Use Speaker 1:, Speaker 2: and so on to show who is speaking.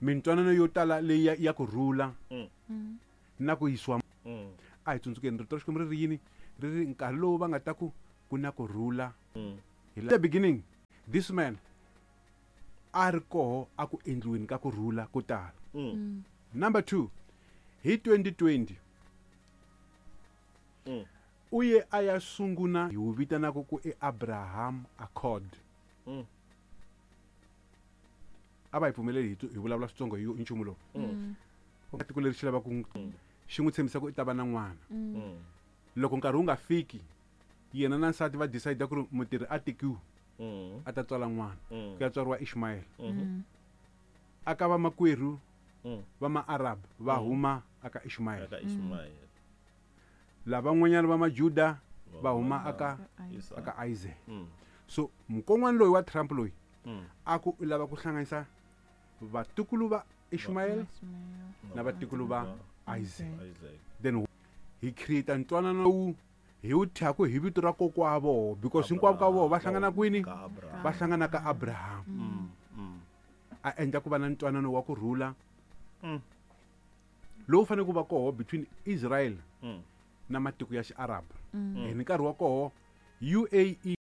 Speaker 1: Mintwanano yo tala leyi ya ku rhula na ku yisiwa. A hi tsundzukeni rito ra Xikwembu ri ri yini? Ri ri nkarhi lowu va nga ta ku ku na ku rhula. Hi the beginning this man a ri koho a ku endliweni ka ku rhula ko tala. Number 2, hi 2020 u ye a ya sunguna hi wu vitanaka ku i Abraham Accord. A va hi pfumeleli hi vulavula switsongo hi nchumu lowu. Tiko leri xi lava ku xi n'wi tshembisa ku i ta va na n'wana. Loko nkarhi wu nga fiki, yena na nsati va decide ku ri mutirhi a tekiwe a ta tswala n'wana. Ku ya tswariwa Ishmael. Aka va makwerhu va ma-Arab va huma aka Ishmael.
Speaker 2: Aka Ishmael.
Speaker 1: Lavan'wanyana va Majuda va huma aka Isaac. So mukon'wana loyi wa Trump loyi a ku u lava ku hlanganisa vatukulu va Ishmael na vatukulu va Isaac. Then hi create ntwanano lowu hi wu thyaku hi vito ra kokwa voho, because hinkwavo ka voho va hlangana kwini? Va hlangana ka Abraham. A endla ku va na ntwanano wa ku rhula lowu fanele ku va koho between Israel na matiko ya Xiarab. Hi nkarhi wa koho UAE.